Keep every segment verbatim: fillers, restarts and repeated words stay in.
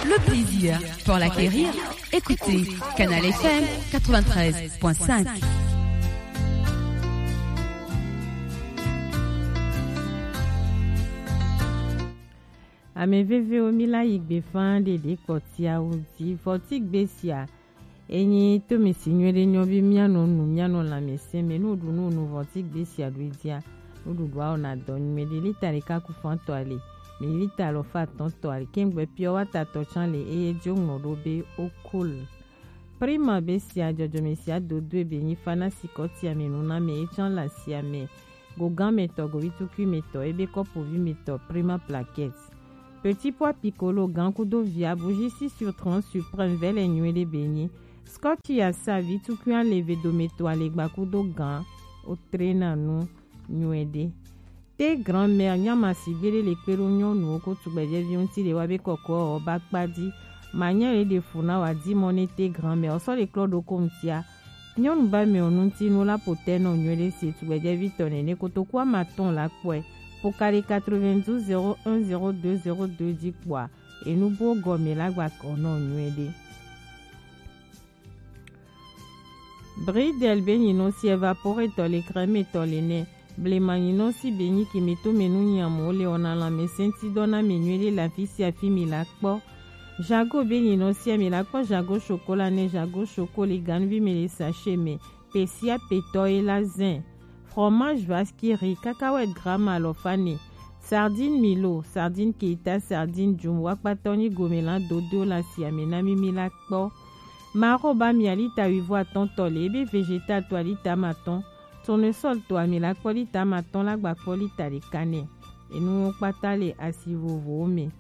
Le plaisir pour l'acquérir, écoutez Canal F M quatre-vingt-treize point cinq. Ame vevewo, mi la yi gbe faa ɖeɖe kpɔtiawo ji. Vɔtigbe sia enyi tomesi nyuiɖe nyɔ bi mianɔ nu, mianɔ lãmesẽ me. Ne woɖu nu, nu vɔtigbe sia ɖo edzia, nuɖuɖua wɔna dɔ nyuiɖe. Lita ɖeka ku fantɔ ali, mi lita alafa atɔ̃tɔ ali, kengbe pure water tɔ tsã le, eye dzo ŋlɔ ɖo be okol. Prima be sia dzɔdzɔme sia dodoe be nyi fa na sikɔtiame nuname, etsã le asiame. Go gãmetɔ, go vitukuimetɔ, ebe kɔpovimetɔ, Prima plaquette. Petit pois piccolo, gan kudo via, bougie six sur trente suprême, vɛlɛ nyuiɖe be nyi. Scotch ya sa vitukui ale ve dometɔ alegba kudo gan, o trena nu nyuiɖe. Te grand-mère nyama sigbe ɖe le kpe ɖo nyɔnuwo ko tugbɛjɛviwo ŋuti le wa be kɔkɔ ɔ ba kpa di. Ma nya le ɖe fu na wa di mɔ ne te grand-mère ɔ sɔ le klɔ ɖo ko ŋutia. Nyɔnu ba mɛ ɔ ŋuti nu la po tɛ nɔ nyuiɖe se tugbɛjɛvi tɔ nɛnɛ kotoku ama tɔn la kpɔɛ. Po ka ɖe quatre-vingt-douze zéro un zéro deux zéro deux di kpɔa. Enu bo gɔme la gba kɔ nɔ nyuiɖe. Bridel be nyinɔ si evaporetɔ le crème tɔ le nɛ. Blema nyinɔ si be nyi kimitomenu nyamɔ le ɔna lãmesẽtidɔ na mi nyuiɖe le afi sia afi mi la kpɔ. Jago be nyinɔ sia mi la kpɔ jago chocolat nɛ, jago choco le ganuvi me le sachet me. Pesia petɔ ye la zɛn. Fromage vaskiri, cacahuète gramme alɔfa ne. Sardine milo, sardine keita, sardine djum, wakpatɔ nyi gome la dodo le asia me na mi mi la kpɔ. Maro ba mi alita wivo atɔ̃tɔ le, ebe vegetal to alita amatɔ̃, tournesol to ami la kpɔ lita amatɔ̃ la gba kpɔ lita ɖeka nɛ. Enuwo kpata le asi vovovowo me.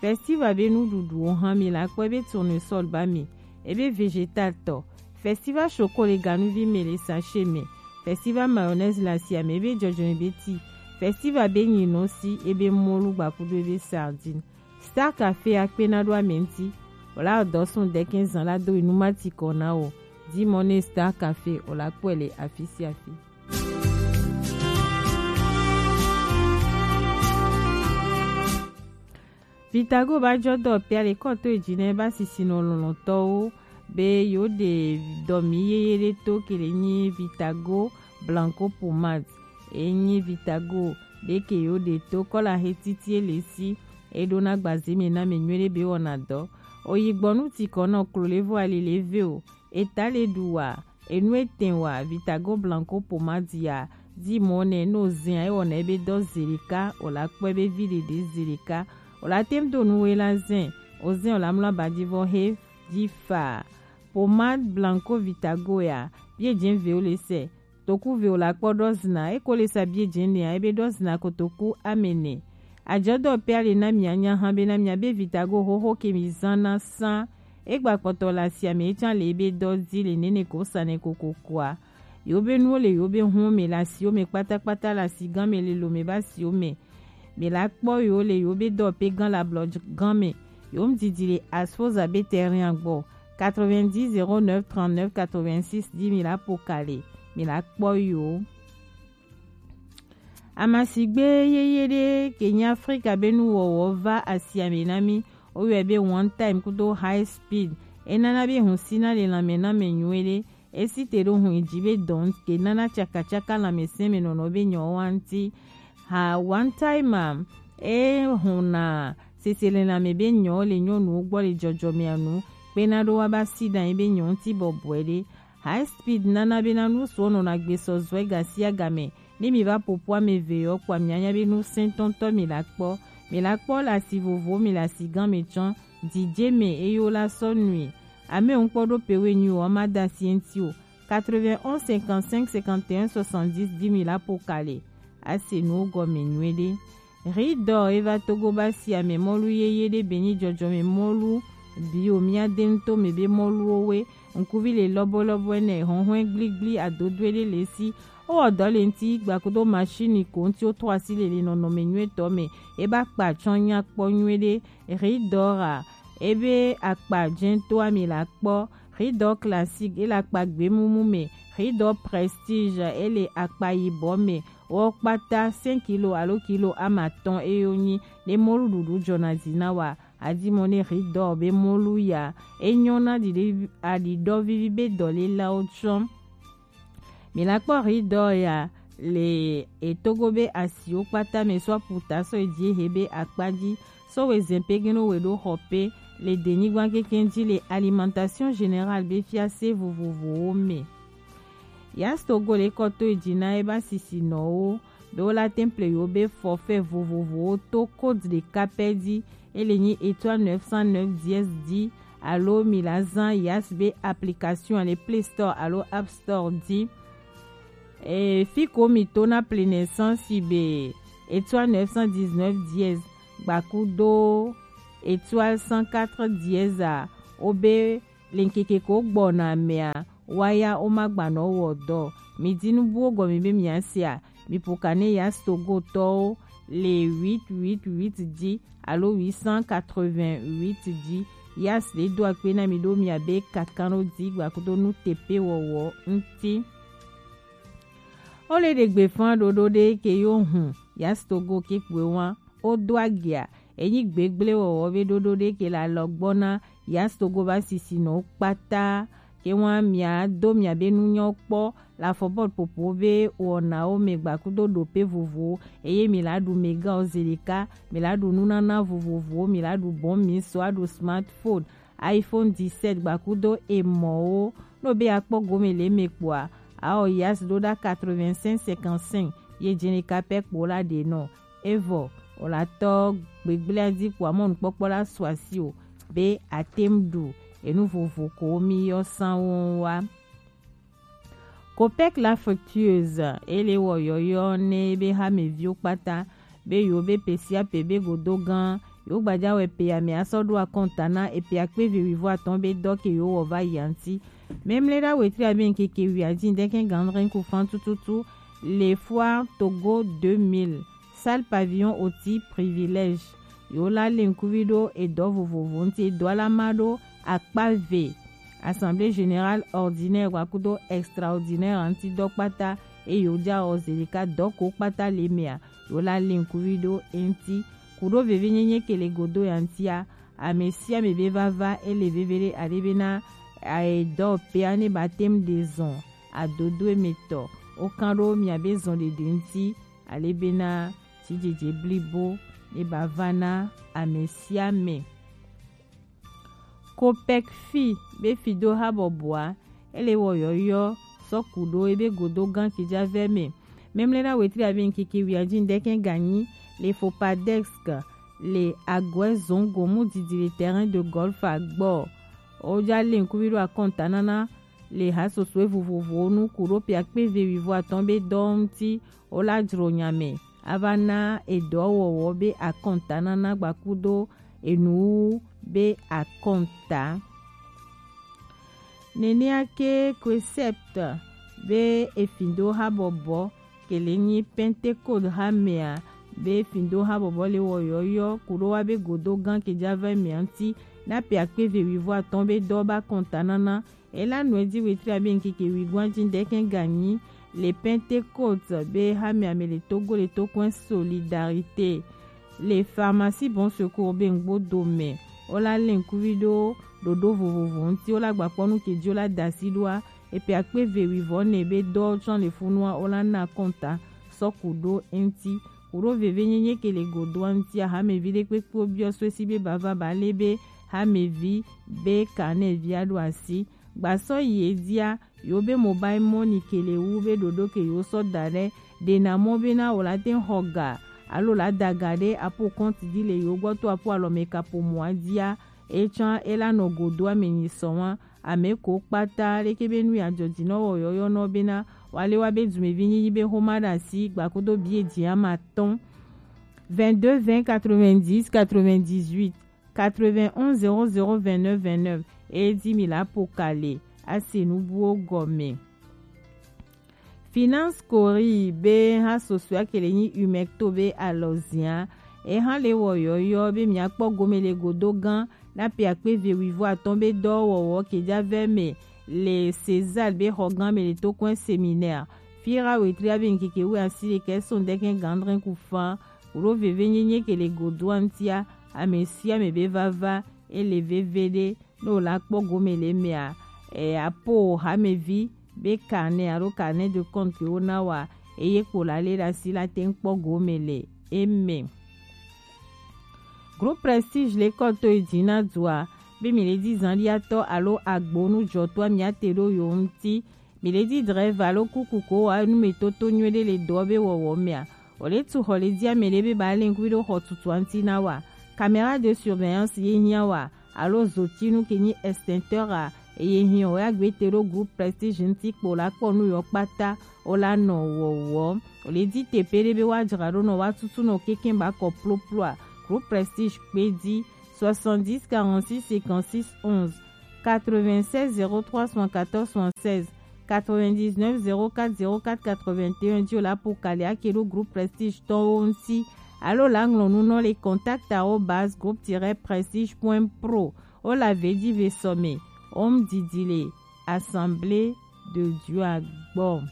Festival be nuɖuɖuwo hã mi la kpɔ ebe tournesol ba mi, ebe vegetal tɔ. Festival choco le ganuvi me le sachet me. Festival mayonnaise le asia me ebe dzɔdzɔe be ti. Festival be nyinɔ si ebe mɔlu gba kudo ebe sardine. Star Café akpena ɖo ame ŋuti. Wòla dɔ sun dɛkɛn zan la do inu mati kɔ na o. Di mɔ ne Star Café wòla kpɔe le afi sia afi. Vitago ba jɔ dɔ pia le kɔto eji ne ba sisi nɔ lɔlɔtɔwo be yo de dɔ mi yeye ɖe to kele nyi Vitago Blanco Pomade. Enyi Vitago ɖe ke yo ɖe to kɔla he titi ele si, eɖo na gbaze me na me nyuiɖe be wɔna dɔ. Oyi gbɔnu ti kɔ nɔ klo levo ali leve o, eta le ɖu wa, enu etɛn wa, Vitago Blanco Pomade ya, di mɔ nɛ no zɛn ayi wɔna ebe dɔ zeleka, o la kpɔ ebe vi ɖeɖe zeleka, o la tem do nu we la zɛn, o zɛn o la mlɔ abadi vɔ he di fa. Pomade Blanco Vitago ya, bie jɛn ve o le sɛ. Toku ve o la kpɔ ɖɔ zina, eko le sa bie jɛn nea, ebe ɖɔ zina kotoku amene. Ajɔdɔ pe ale na mia nya hã be na mia be Vitago xoxo ke mi zan na san. Egba kpɔtɔ le asia me, etsã le ebe dɔ di le nene ko sa ne kokokoa. Yo be nuwo le yo be hun me le asiwo me kpatakpata le asi gan me le lo me ba asiwo me. Mi la kpɔ yo le yo be dɔ pe gan la blɔ gan me. Yo mdidi le Asfoza be terrain gbɔ. Quatre-vingt-dix zéro neuf trente-neuf quatre-vingt-six di mi la po kale. Mi la kpɔ yo. Amasigbe yeye ɖe ke nyi Afrika be nuwɔwɔ va asia me na mi. Woyɔe be one time kudo high speed. Enana be hun sina le lanme na me nyuie ɖe. Esi te ɖo hun yi ji be dɔn ke nana tsakatsaka lanmesẽ me nɔnɔ be nyɔ wa ŋuti. Ha one time a, e huna seselelãme be nyɔ le nyɔnuwo gbɔ le dzɔdzɔmea nu, kpena ɖo wa ba si ɖe anyi be nyɔ ŋuti bɔbɔe ɖe. High speed nana be na nu suɔ nɔna gbe sɔ zɔe gasiagame. Ne mi va ƒoƒu ame eve yewo kpɔa, mianya be nu sẽtɔtɔ mi la kpɔ. Mi la kpɔ le asi vovowo, mi le asi gã me tsɔ. Didie me eye wola sɔ nui. Ame ŋkpɔ ɖo pe we nyui o, ma da asi eŋti o. Quatre-vingt-onze cinquante-cinq cinquante et un soixante-dix di mi la ƒo ka le. Ase nuwo gɔme nyuie ɖe. Ridɔ eva Togo ba si ame mɔlu yeye ɖe be nyi dzɔdzɔme mɔlu bio mía de ŋutɔ me be mɔluwo we. Ŋkuvi le lɔbɔlɔbɔ ene, hɔnhɔn gligli adodoe ɖe le si. Wowɔ dɔ le ŋuti gbakudo machine ko ŋuti wotrɔ asi le le nɔnɔme nyuietɔ me. Eba kpa tsɔ nyakpɔ nyuie ɖe. Ridɔ ra ebe akpa dzɛtɔa mi la kpɔ. Ridɔ classique ele akpa gbemumu me. Ridɔ prestige ele akpa yibɔ me. Wo kpata cinq kilo alo kilo amatɔn eyo nyi ne mɔluɖuɖu dzɔna zi na wa. Adimone Ridor be molu ya, e nyɔ na ɖiɖe aɖiɖɔ vivi be dɔlélawo tsɔ. Mi la kpɔ Ridor ya le etogo be asiwo kpata me sɔ aputa sɔ eji ehe be akpa ji, sɔ we zɛn pe geno we ɖo xɔ pe le denyigban keke ji le Alimentation Générale be fiase vovovowo me. Yas Togo le kɔ to eji na e ba sisinɔwo be wo la temple yo be forfait vovovowo to code ɖeka pɛ ji, e le nyi étoile neuf cent neuf dièse ji, alo mi la zan Yas be application le Play Store alo App Store ji. E, fi ko mi to na plein essence be étoile neuf cent dix-neuf dièse gbakudo étoile cent quatre dièse a, o be le ŋkeke ko gbɔna mea, waya wo ma gbanɔ wɔ dɔ. Mi di nu buwo gɔme be mia se a, mi po ka ne Yas Togo tɔwo le huit huit huit ji alo huit cent quatre-vingt-huit ji. Yas le do akpe na mi ɖo mia be kakanɔ di gbakudo nu tepe wɔwɔ ŋti. O le ɖe gbe fan ɖoɖo ɖe ke yo hun Yas Togo ke kpue wa o do agia. Enyi gbegble wɔwɔ be ɖoɖo ɖe ke le alɔgbɔ na Yas Togo ba sisinɔwo kpata. Ke wa mia do mia be nunyɔ kpɔ le afɔbɔl popo be wɔnawo me gbakudo ɖope vovowo, eye mi la ɖu mega o ze ɖeka, mi la ɖu nunana vovovowo, mi la ɖu bɔn mi sɔ aɖu smartphone, iPhone dix-sept gbakudo emɔwo. No be akpɔ gome le me kpɔa, ao Yas ɖo ɖa quatre-vingt-cinq cinquante-cinq ye jene kapɛ kpo la ɖe nɔ. Evɔ o la tɔ gbegblea di kpɔa mɔnukpɔkpɔ la su asi o be atem ɖu enu vovo ko mi yɔ sanwo wa. Copec la fructueuse, ele wɔ yɔyɔ ne be hameviwo kpata be yo be pe sia pe be godo gan, yo gbaja wɛ pe ame asɔ ɖo akɔnta na epe akpe ve wivo atɔn be dɔ ke yo wɔ va yi anti. Memle ɖa wetri abe ŋkeke wi adi ŋdɛkɛ gandrin ku fan tututu le Foire Togo deux mille, salle pavillon oti privilège. Yo la le ŋkuvi ɖo edɔ vovovo ŋti, edɔ la ma ɖo akpa ve. Assemblée générale ordinaire gbakudo extraordinaire ŋti dɔ kpata, eye wo ja ɔ ze ɖeka dɔ ko kpata le mea, yo la le ŋkuvi ɖo eŋti. Kuɖo veve nyenye ke le godo ya ŋtia, ame sia ame be vava ele veve ɖe aɖe be na edɔ pea ne ba tem ɖe zɔn adodo emetɔ. Wo kan ɖo mia be zɔn ɖeɖe ŋti ale be na tsidzedze blibo ne ba va na ame sia ame. Copec fi be fido habɔbɔa, ele wɔ yɔyɔ sɔ kuɖo ebe godo gan kidza vɛ me. Memle na wetri abe ŋkeke wi adi ŋdɛkɛ ganyi le Fopadex le Aguɛ Zongo mu didi le terrain de golf agbɔ. O ja le ŋkuvi ɖo akɔnta nana le hasosoe vovovowo nu kuɖo pe akpe ve wivo atɔn be dɔ ŋti. O la dzro nya me ava na edɔwɔwɔ be akɔnta nana gbakudo enuwu be akɔnta. Nenea ke Concept be efindo habɔbɔ ke le nyi Pentecôte hamea be efindo habɔbɔ le wɔ yɔyɔ kuɖo wa be godo gan ke ja va mea ŋti na pe akpe ve wivo atɔn be dɔ ba kɔnta nana. Ela nɔe ji wetri abe ŋkeke wi gwan ji ŋdɛkɛ ganyi le Pentecôte be hamea me le Togo le tokɔn Solidarité le pharmacie Bon Secours be ŋgbo do me. O la le ŋkuvi ɖo ɖoɖo vovovo ŋti, o la gbakpɔ nu ke ji o la dasi ɖoa, epe akpe ve wivo ne be dɔ tsɔ le funua o la na kɔnta sɔ kuɖo eŋti. Kuɖo veve nyenye ke le godoa ŋtia, hamevi ɖe kpekpe biɔ so esi be bava ba le be hamevi be kanevia ɖo asi. Gbasɔ yi edzia, yo be mobile money ke le wu be ɖoɖo ke yo sɔ da ɖe ɖe na mɔ be na o la te xɔ ga alo la da ga ɖe apo compte di le yo gbɔ to apo alɔ me kapo mɔa dzia, etsã ela nɔ godoa me nyi sɔ wa. Ame ko kpata leke be nu ya dzɔdzi nɔ wɔ yɔyɔ nɔ be na wa le wa be dumevi nyi be xoma ɖe asi gbakodo bi edzia ma tɔn. Vingt-deux vingt quatre-vingt-dix quatre-vingt-dix-huit, quatre-vingt-onze zéro zéro vingt-neuf vingt-neuf. Edi mi la po kale ase nubuwo gɔme. Finance Cori be ha sosoa ke le nyi Umecto be alɔzia. E ha le wɔ yɔyɔ be mia kpɔ gome le godo gan na pe akpe ve wivo atɔn be dɔ wɔwɔ ke ja vɛ me le César be xɔ gan me le tokɔn séminaire. Fira wetri abe ŋkeke wu asi le kɛ so ŋdɛkɛ gandrin ku fan. Kuɖo veve nyenye ke le godoa ŋtia, ame sia ame be vava, ele veve ɖe, ne wòla kpɔ gome le emea, e, apo hamevi be carnet alo carnet de compte ke wona wa, eye kpo la lé ɖe asi la te ŋu kpɔ gome le eme. Groupe Prestige le kɔ to yi dzi na dua be mi le di zanɖiatɔ alo agbonujɔtɔa mi ate ɖo yo ŋuti. Mi le di drɛva alo kuku ko wa nu me toto nyuie ɖe le dɔ be wɔwɔ mea. O le tu xɔ le di ame ɖe be ba le ŋku ɖo xɔ tutua ŋuti na wa. Caméra de surveillance ye hiã wa alo zotinu ke nyi extincteur a, eye hiã o ya gbe te ɖo groupe Prestige ŋuti kpo la kpɔ nu yɔ kpata o la nɔ wɔwɔ. O le di teƒe ɖe be wa dzra ɖo nɔ wa tutu nɔ keke ba kɔ ploploa. Groupe Prestige kpe di soixante-dix quarante-six cinquante-six onze, quatre-vingt-seize zéro trois soixante-quatorze soixante-seize, quatre-vingt-dix-neuf zéro quatre zéro quatre quatre-vingt-un dzi o la po kali ake ɖo groupe Prestige tɔwo ŋuti alo la ŋlɔ nu nɔ le contact arobase groupe tiret prestige point pro. O la ve di ve sɔme. Om didi le Assemblée de Dieu a gbɔ.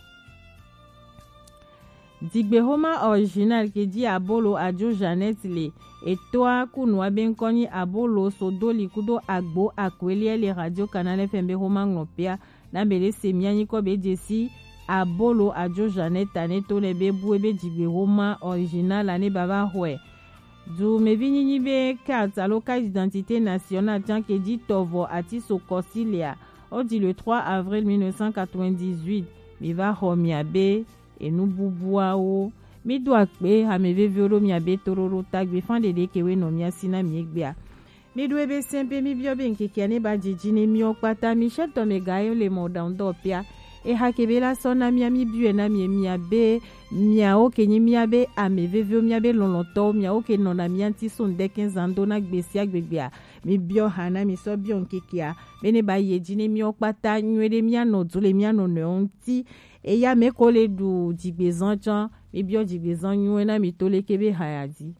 Digbexoma original ke di abolo ajo Jeannette le etoa kunua be ŋkɔ nyi abolo sodoli kudo agbo akweliɛ le Radio Canal F M be xoma ŋlɔpea na be ɖe se mia nyikɔ be jesi abolo ajo Jeannette ane to ne be bue be digbexoma original ane baba xɔe. Dumevi nyinyi be carte alo carte d'identité nationale tian ke di tɔvɔ ati so kɔsi lea, o di le trois avril mille neuf cent quatre-vingt-dix-huit. Mi va xɔ mia be enu bubuawo. Mi do akpe hame veviwo ɖo mia be toɖoɖo tagbe fan ɖeɖe ke we nɔ mia si na mi egbea. Mi ɖo ebe sɛn be mi biɔ be ŋkekea ne ba dzidzi ne miɔ kpata mi sɛ tɔ me ga yo le mɔ ɖaŋu dɔ pia. Eha ke be la sɔ na mia mi biɔe na mi mia be miawo ke nyi mia be ame veviwo mia be lɔlɔtɔwo miawo ke nɔ na mia ŋuti so ŋdɛkɛ zan do na gbe sia gbegbea. Mi biɔ ha na mi sɔ biɔ ŋkekea be ne ba ye dzi ne miɔ kpata nyuie ɖe mia nɔ du le mia nɔ nɔewo ŋuti. Eya me ko le ɖu dzigbezan tsã, mi biɔ dzigbezan nyuie na mi to leke be ha ya dzi.